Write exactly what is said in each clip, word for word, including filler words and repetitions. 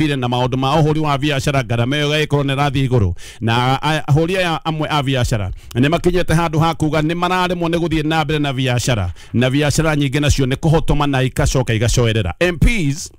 Na maundu ma uhuri wa biacara ngarama ĩyo ĩgagĩkorwo nĩ ĩrathiĩ igũrũ na ahũri aya amwe a biacara nĩ makinyĩte handũ ha kuga nĩ mararemwo nĩ gũthiĩ na mbere na biacara na biacara nyingĩ nacio nĩ kũhotoma na ikacoka igacoerera. M Ps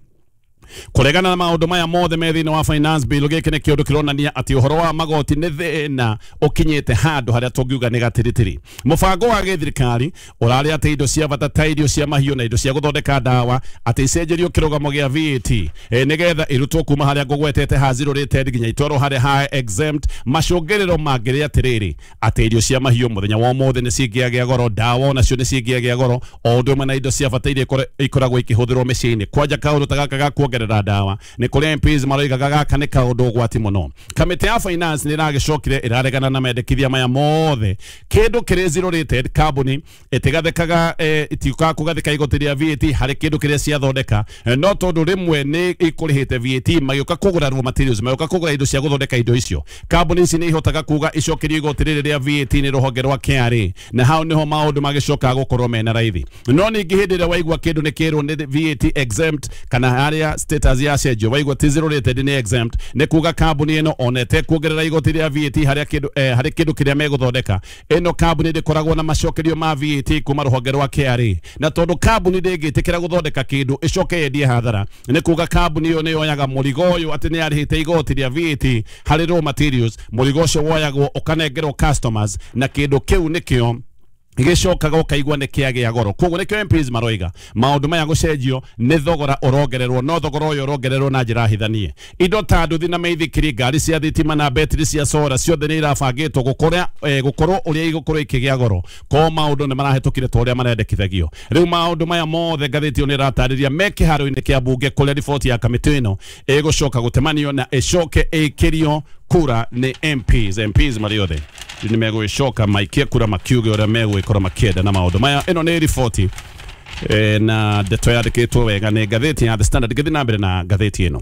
kuregana na maundu maya mothe me thĩinĩ wa finance bill gĩkĩ nĩ kĩũndũ kĩronania atĩ ũhoro wa magoti nĩ thĩna ũkinyĩte handũ harĩa tũngiuga nĩ gatiritiri. Mũbango wa gĩthirikari ũrarĩ atĩ indo cia bata ta irio cia mahiũ na indo cia gũthondeka ndawa atĩ icenjerio kĩrũgamo gĩa V A T e, nĩgetha irutwo kuma harĩa ngũgwetete ha zero rated nginya itwarwo harĩa ha exempt. Macũngĩrĩro mangĩrĩ atĩrĩrĩ atĩ irio cia mahiũ mũthenya wa ũmũthĩ nĩ cingĩagĩa goro, ndawa onacio nĩ cingĩagĩa goro, o ũndũ ũmwe na indo cia bata iria ikoragwo ikĩhũthĩrwo mĩciĩ-inĩ. Kwanja kaũndũ ta gaka ga kuongerera ndawa nĩ kũrĩa M Ps maroigaga gaka nĩ kaũndũ ũgwati mũno. Kamĩtĩ ya finance nĩ ĩragĩcokire ĩraregana na mendekithia maya mothe. Kĩndũ kĩrĩ zero rated kambuni ĩtigathĩkaga itiukaga kũgathĩka igoti rĩa V A T harĩ kĩndũ kĩrĩa ciathondeka, no tondũ rĩmwe nĩ ikũrĩhĩte V A T magĩũka kũgũra raw materials, magĩũka kũgũra indo cia gũthondeka indo icio, kambuni ici nĩ ihotaga kuga icokerio igoti rĩrĩ rĩa V A T nĩ rũhonge rwa K R A, na hau nĩho maũndũ magĩcokaga gũkorwo mena raithi. No ningĩ hĩndĩ ĩrĩa waigua kĩndũ nĩ kĩrwo nĩ V A T exempt kana harĩa status ya cenjio waigua ti zero rated nĩ exempt, nĩ kuga kambuni ĩno ona ĩtekuongerera igoti rĩa V A T harĩa kĩndũ eh, harĩ kĩndũ kĩrĩa megũthondeka, ĩno kambuni ndĩkoragwo na macokerio ma V A T kuma rũhonge rwa K R A, na tondũ kambuni ndĩngĩtĩkĩra gũthondeka kĩndũ ĩcoke yendie hathara, nĩ kuga kambuni ĩyo nĩ yoyaga mũrigo ũyũ atĩ nĩ yarĩhĩte igoti rĩa V A T harĩ raw materials, mũrigo ũcio woyagwo ũkanengerwo customers na kĩndũ kĩu nĩkĩo gĩcokaga ũkaigua nĩ kĩagĩa goro. Koguo nĩkĩo M Ps maroiga maũndũ maya gũcenjio nĩ thogora ũrongererwo, no thogora ũyũ ũrongererwo na njĩra hithanie. Indo ta nduthi na mĩithikiri, ngari cia thitima na betiri cia solar ciothe nĩ irabangĩtwo gũkorwo eh, gũkorwo ũrĩa igũkorwo ikĩgĩa goro, ko maũndũ nĩ marahĩtũkire ta ũrĩa marendekithagio. Rĩu maũndũ maya mothe ngathĩti ĩyo nĩ ĩratarĩria me kĩharo-inĩ kĩa mbunge kũrĩa riboti ya kamĩtĩ ĩno ĩgũcoka gũtemanio na ĩcoke ĩkĩrio kura nĩ M Ps. M Ps marĩ othe nĩ megũgĩcoka maikie kura makiuge ũrĩa megũgĩkorwo makĩenda na maũndũ maya. Ĩno nĩ riboti e, na ndeto yandĩkĩtwo wega nĩ ngathĩti ya The Standard. Ngĩthiĩ na mbere na ngathĩti ĩno.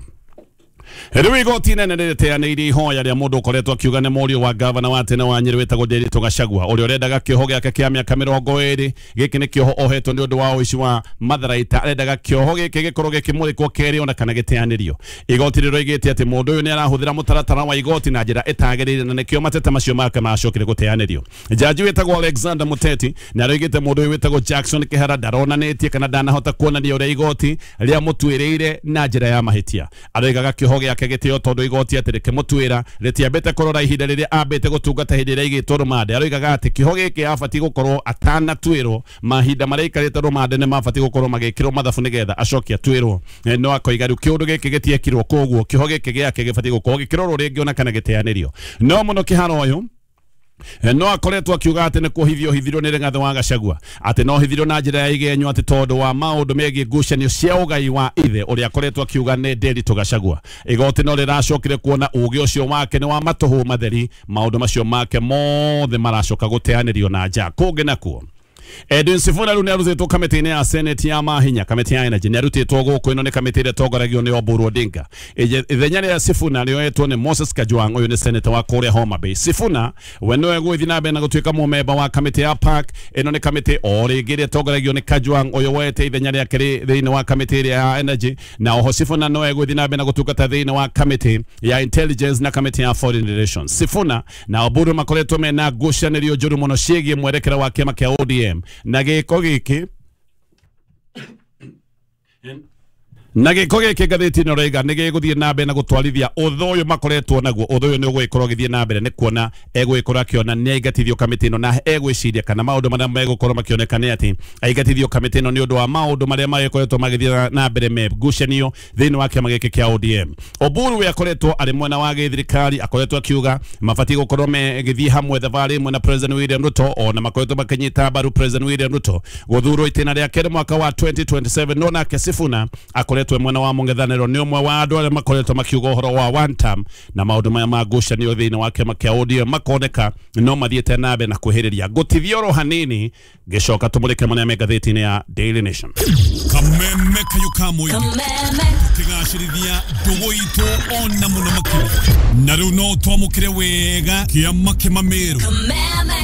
Rĩu igoti inene nĩrĩteanĩirie ihoya rĩa mũndũ ũkoretwo akiuga nĩ mũriũ wa gavana wa tene wa Nyĩrĩ wĩtagwo Ndiritu Gachagua ũrĩa ũrendaga kĩoho gĩake kĩa mĩaka mĩrongo ĩrĩ. Gĩkĩ nĩ kĩoho ohetwo nĩ ũndũ wa ũici wa matharaita. Arendaga kĩoho gĩkĩ gĩkorwo gĩkĩmũrĩkwo kerĩ ona kana gĩteanĩrio. Igoti rĩroigĩte atĩ mũndũ ũyũ nĩ arahũthĩra mũtaratara wa igoti na njĩra ĩtagĩrĩire na nĩkĩo mateta macio make macokire gũteanĩrio. Jaji wĩtagwo Alexander Muteti nĩ aroigĩte mũndũ ũyũ wĩtagwo Jackson Kĩhara ndaronanĩtie kana ndanahota kuonania ũrĩa igoti rĩamũtuĩrĩire na njĩra ya mahĩtia. Aroigaga kĩoho gĩake gĩtĩo tondũ igoti atĩ rĩkĩmũtuĩra rĩtiambĩte kũrora ihinda rĩrĩa ambĩte gũtungata hĩndĩ ĩrĩa aigĩtwo rũmande. Aroigaga atĩ kĩoho gĩkĩ abatiĩ gũkorwo atanatuĩrwo, mahinda marĩa aikarĩte rũmande nĩ mabatiĩ gũkorwo magĩkĩrwo mathabu nĩgetha acoke atuĩrwo. No akoiga rĩu kĩũndũ gĩkĩ gĩtiekirwo, koguo kĩoho gĩkĩ gĩake gĩbatiĩ gũkorwo gĩkĩrorwo rĩngĩ ona kana gĩteanĩrio. No mũno Kĩhara ũyũ no akoretwo akiuga atĩ nĩ kũhithio hithirwo nĩ Rigathĩ wa Gachagua, atĩ no hithirwo na njĩra ya igenyo atĩ tondũ wa maũndũ megiĩ ngucanio cia ũgai wa ithe ũrĩa akoretwo akiuga nĩ Ndiritu Gachagua. Igoti no rĩracokire kuona ũgĩ ũcio wake nĩ wa matũhũ matheri, maũndũ macio make mothe maracoka gũteanĩrio na nja. Kũngĩ nakuo Edwin Sifuna rĩu nĩarutĩtwo kamĩtĩ-inĩ ya Senate ya mahinya, kamĩtĩ ya Energy nĩarutĩtwo gũkũ. Ĩno nĩ kamĩtĩ ĩrĩa ĩtongoragio nĩ Oburu Odinga. Ithenya rĩa Sifuna rĩoetwo nĩ Moses Kajwang', ũyũ nĩ senator wa kũrĩa Homa Bay. Sifuna we nĩwe gũgĩthiĩ na mbere na gũtuĩka mũmemba wa kamĩtĩ ya P A C. Ĩno nĩ kamĩtĩ o rĩngĩ ĩrĩa ĩtongoragio nĩ Kajwang', ũyũ woete ithenya rĩake thĩinĩ wa kamĩtĩ ĩrĩa ya Energy, na oho Sifuna nĩwe gũgĩthiĩ na mbere na gũtungata thĩinĩ wa kamĩtĩ ya Intelligence na kamĩtĩ ya Foreign Relations. Sifuna na Oburu makoretwo mena ngucanĩrio njũru mũno ciĩgiĩ mwerekera wa kĩama kĩa O D M na gĩko gĩkĩ na gĩko gĩkĩ ngathĩti ĩno ĩroiga nĩ gĩgũthiĩ na mbere na gũtwarithia ũthũ ũyũ makoretwo naguo. Ũthũ ũyũ nĩ ũgũgĩkorwo ũgĩthiĩ na mbere nĩ kuona egũgĩkorwo akĩona nĩ aingatithio kamĩtĩ ĩno, na egwĩciria kana maũndũ marĩa megũkorwo makĩoneka nĩ atĩ aingatithio kamĩtĩ ĩno nĩ ũndũ wa maũndũ marĩa magĩkoretwo magĩthiĩ na mbere me ngucanio thĩinĩ wa kĩama gĩkĩ kĩa O D M. Oburu we akoretwo arĩ mwena wa gĩthirikari, akoretwo akiuga mabatiĩ gũkorwo megĩthiĩ hamwe thabarĩ ĩmwe na President William Ruto, ona makoretwo makĩnyita mbaru President William Ruto gũthurwo itĩna rĩa kerĩ mwaka wa twenty twenty-seven. No nake Sifuna akoretwo mwena wa mũng'ethanĩro nĩ ũmwe wa andũ arĩa makoretwo makiuga ũhoro wa one term, na maũndũ maya ma ngucanio thĩinĩ wa kĩama kĩa O D M makoneka no mathiĩte na mbere na kwĩhĩrĩria. Ngũtithia oro hanini ngĩcoka tũmũrĩke marĩa me ngathĩti-inĩ ya Daily Nation. Kameme kayo ka mũingĩ tũkĩgacĩrithia ndũgũ itũ ona mũno makĩria, na rĩu no twamũkĩre wega kĩama kĩmamĩrũ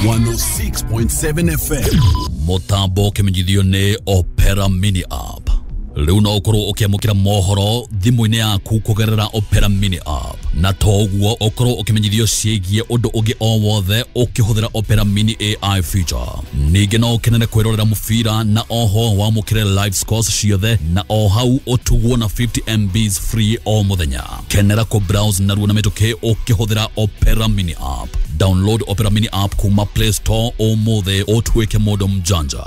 one oh six point seven F M. Mũtambo ũkĩmenyithio nĩ Opera Mini App. Rĩu no ũkorwo ũkĩamũkĩra mohoro thimũ-inĩ yaku kũgerera Opera Mini app, na to ũguo ũkorwo ũkĩmenyithio ciĩgiĩ ũndũ ũngĩ o wothe ũkĩhũthĩra Opera Mini A I feature. Ningĩ no ũkenere kwĩrorera mũbira na oho wamũkĩre live scores ciothe na o hau ũtugwo na fifty M Bs free o mũthenya. Kenera kũ browse narua na mĩtũkĩ ũkĩhũthĩra Opera Mini app. Download Opera Mini app kuma Play Store ũmũthĩ ũtuĩke mũndũ mjanja.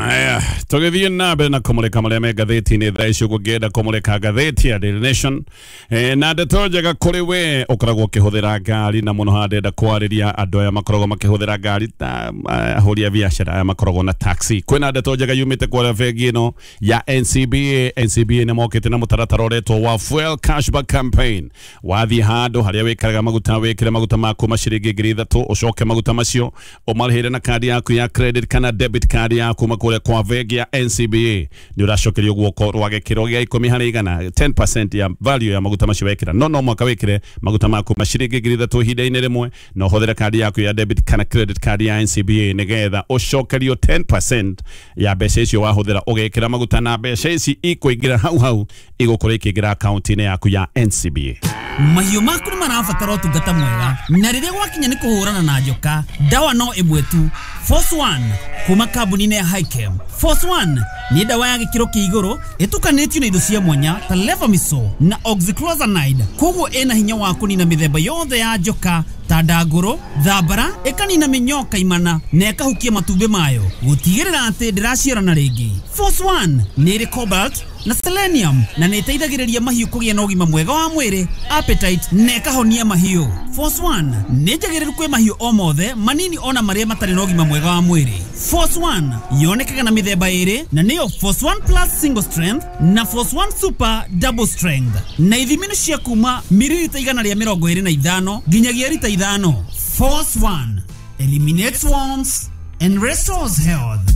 Aya, tũgĩthiĩ na mbere na kũmũrĩka marĩa me ngathĩti-inĩ thaa ici ũguo ngĩenda kũmũrĩka ngathĩti ya Daily Nation. E, na ndeto njega kũrĩ we ũkoragwo ũkĩhũthĩra ngari, na mũno haha ndĩrenda kwarĩria andũ aya makoragwo makĩhũthĩra ngari ta ahũri a biacara aya makoragwo na taxi. Kwĩna ndeto njega yumĩte kũrĩa bengi ĩno ya N C B A. N C B A nĩ mokĩte na mũtaratara ũretwo wa Fuel Cashback Campaign. Wathiĩ handũ harĩa wĩkĩraga maguta, wĩkĩre maguta maku ma ciringi ngiri ithatũ, ũcoke maguta macio ũmarĩhĩre na kandi yaku ya credit kana debit card yaku kũrĩa kwa bengi ya N C B A. Nĩ ũracokerio guoko rwa gĩkĩro gĩa ikũmi harĩ igana, ten percent ya value ya maguta macio wekĩra. No no mwaka wĩkĩre maguta maku ma ciringi ngiri ithatũ ihinda-inĩ rĩmwe, na ũhũthĩre kandi yaku ya debit kana credit card ya N C B A nĩgetha ũcokerio ten percent ya mbeca icio wahũthĩra ũgĩkĩra maguta, na mbeca ici ikũingĩra hau hau igũkorwo ikĩingĩra akaunti-inĩ yaku ya N C B A. Mahiũ maku nĩ marabatara ũtungata mwega, na rĩrĩa gwakinya nĩ kũhũrana na njoka, ndawa no ĩmwe tu, Force One kuma kambuni-inĩ ya Hikem. Force One nĩ ndawa ya gĩkĩro kĩa igũrũ ĩtukanĩtio na indo cia mwanya ta Levamisole na Oxyclozanide, koguo ĩna hinya wa kũnina mĩthemba yothe ya njoka ta ndangũrũ, thambara, ĩkanina mĩnyoo kaimana na ĩkahukia matumbĩ mayo gũtigĩrĩra atĩ ndĩraciarana rĩngĩ. Force One nĩ ĩrĩ cobalt na selenium na nĩ ĩteithagĩrĩria mahiũ kũgĩa na ũgima mwega wa mwĩrĩ, appetite na ĩkahonia mahiũ. Force One nĩ njagĩrĩru kwĩ mahiũ o mothe manini ona marĩa matarĩ na ũgima mwega wa mwĩrĩ. Force One yonekaga na mĩthemba ĩrĩ, na nĩyo Force One Plus Single Strength na Force One Super Double Strength, na ithimi nĩ cia kuma mililita igana rĩa mĩrongo ĩrĩ na ithano nginyagia rita ithano. Force One eliminates worms and restores health.